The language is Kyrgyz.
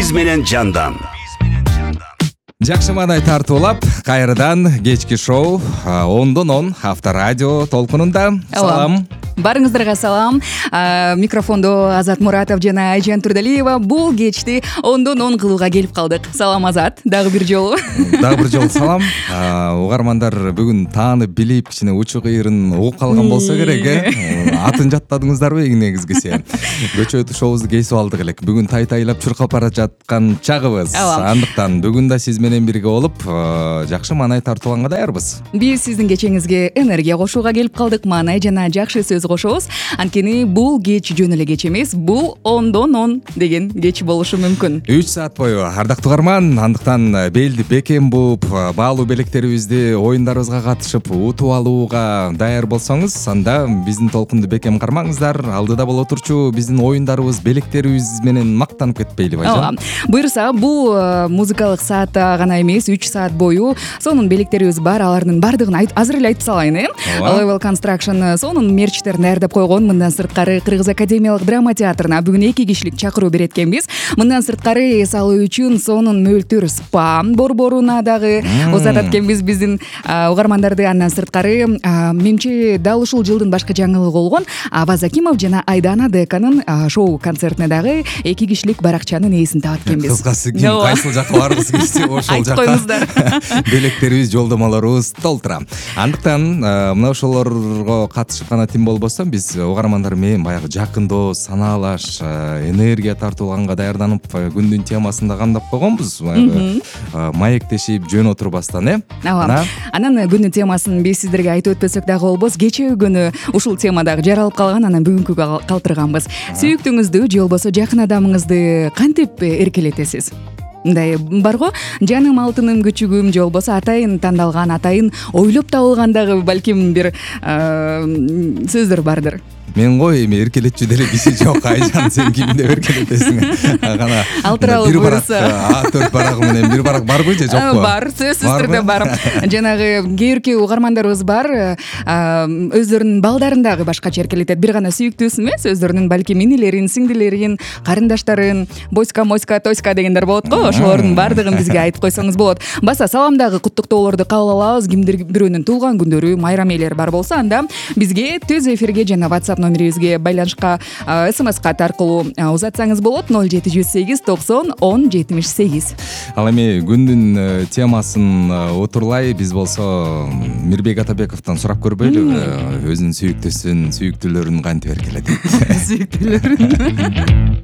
биз менен жандан. Жакшы маанай тартуулап кайрадан кечки шоу 10-10 Авторадио толкунунда. Салам. Барыңыздарга салам. Микрофондо Азат Муратов жана Айжан Турдалиева бул кечти 10-10 кылууга келип калдык. Салам Азат, дагы бир жолу. Дагы бир жолу салам. Угармандар бүгүн таанып билип, кичине учу кыйырын угуп калган болсо керек, атын жаттадыңыздарбы негизгиси? Көчөтү шоубузду кесип алдык элек. Бүгүн тай-тайлап чуркап бара жаткан чагыбыз. Андыктан бүгүн да сиз менен бирге болуп, жакшы маанай тартуулганга даярбыз. Биз сиздин кечеңизге энергия кошууга келип калдык, маанай жана жакшы сөз кошобуз. Анткени бул кеч жөн эле кеч эмес, бул 10-10 деген кеч болушу мүмкүн. 3 саат бою ардактуу угарман, андыктан белди бекем буп, баалуу белектерибизди оюндарыбызга катышып утуп алууга даяр болсоңуз, анда биздин толкунду бекем кармаңыздар. Алдыда боло турчу биздин оюндарыбыз, белектерибиз менен мактанып кетпейли Айжан? Буюрса, бул музыкалык саатта гана эмес, 3 саат бою сонун белектерибиз бар, алардын бардыгын азыр эле айтып салайын, Level Construction сонун мерчтерин даярдап койгон. Мындан сырткары Кыргыз академиялык драма театрына бүгүн 2 кишилик чакыруу берет экенбиз. Мындан сырткары эс алуу үчүн сонун мөлтүр спа борборуна дагы узатат экенбиз биздин угармандарды. Андан сырткары менимче дал ушул жылдын башкы жаңылыгы болгон Аваз Акимов жана Айдана Деканын шоу концертине дагы 2 кишилик баракчанын ээсин таап экенбиз. Кыскасы ким кайсыл жакка баргысы келсе ошол жакка койңуздар. Белектерибиз, жолдомолорубуз толтура. Андыктан мына ошолорго катышып гана тим болбостон биз угармандар менен баягы жакындоо, санаалаш, энергия тартуулганга даярданып күндүн темасын да камдап койгонбуз. Маектешип жөн отурбастан, Анан күндүн темасын биз сиздерге айтып өтпөсөк дагы болбос. Кечээ күнү ушул тема дагы жаралып калган, анан бүгүнкүгө калтырганбыз. Сүйүктүүңүздү же болбосо жакын адамыңызды кантип эркелетесиз? Мындай барго, жаным алтыным күчүгүм же болбосо атайын тандалган, атайын ойлоп табылган дагы балким бир сөздөр бардыр. Мен эми эркелетчү деле киши жок, Айжан, сен кимди эркелетесиң? Кана ал тууралуу буюрса, төрт барагы менен бир барак барбы же жокпу? Бар, сөзсүз түрдө бар. Жанагы кээ-бирки угармандарыбыз бар, өздөрүнүн балдарын дагы башкача эркелетет. Бир гана сүйүктүүсү эмес, өздөрүнүн балким инилерин, сиңдилерин, карындаштарын, бойска, моська, тоська дегендер болот го. Ошолордун бардыгын бизге айтып койсоңуз болот. Баса саламдагы куттуктоолорду кабыл алабыз. Кимдир бирөөнүн туулган күндөрү, майрам ээлери бар болсо, анда бизге түз эфирге жана WhatsApp номерибизге байланышка СМС-кат аркылуу узатсаңыз болот. 0718 90 10 78. Ал эми күндүн темасын отурлай биз болсо Мирбек Атабековдон сурап көрбөйлүбү? Өзүнүн сүйүктүүсүн, сүйүктүүлөрүн кантип эркелетет? Сүйүктүүлөрүн